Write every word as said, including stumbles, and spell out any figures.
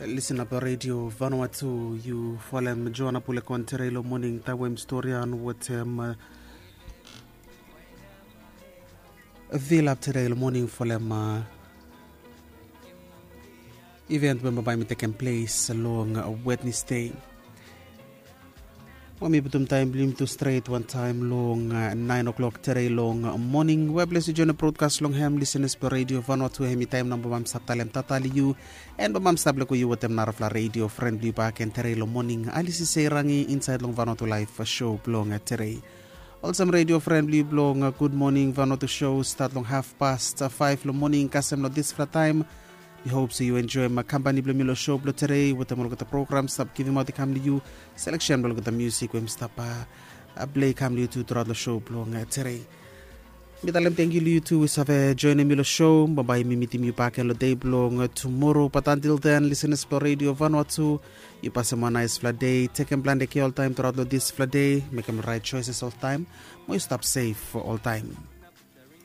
Lisin ap redio Vanuatu, yu folem Joana Pulekon tere long moning taem we mi storian wetem vilap tere long moning folem event we bambae mi tekem ples long Wednesday. Mo mi putum taem blong yumi tu stret wantaem long naen o'clock tere long moning we ples yu joen brodkas long hem lisenas blong redio Vanuatu. Hemi taem nao bambae mi stap talem tata long yu, and bambae mi stap leko yu wetem narafala redio fren blong yu baken tere long moning, Alisi Seirangi insaed long Vanuatu Laef show blong tere. Olsem redio fren blong yu blong Gud Moning Vanuatu show stat long haf past faef long moning kasem long disfala taem. Mi hop se yu enjoem kampani blong mi long show blong tere wetem olgeta program stap givimaot i kam long yu, seleksen blong olgeta musik we mi stap plei kam long yu tu turaot long show blong tere. Mi talem tangkiu long yu tu we save joenem mi long show. Bambae mi mitim yu baken long dei blong tumoro, bat antil den lisenas blong redio Vanuatu, yu pasem wan naesfala dei, tekem plante kea oltaem turaot long disfala dei, mekem raet joeses oltaem, mo yu stap sef oltaem.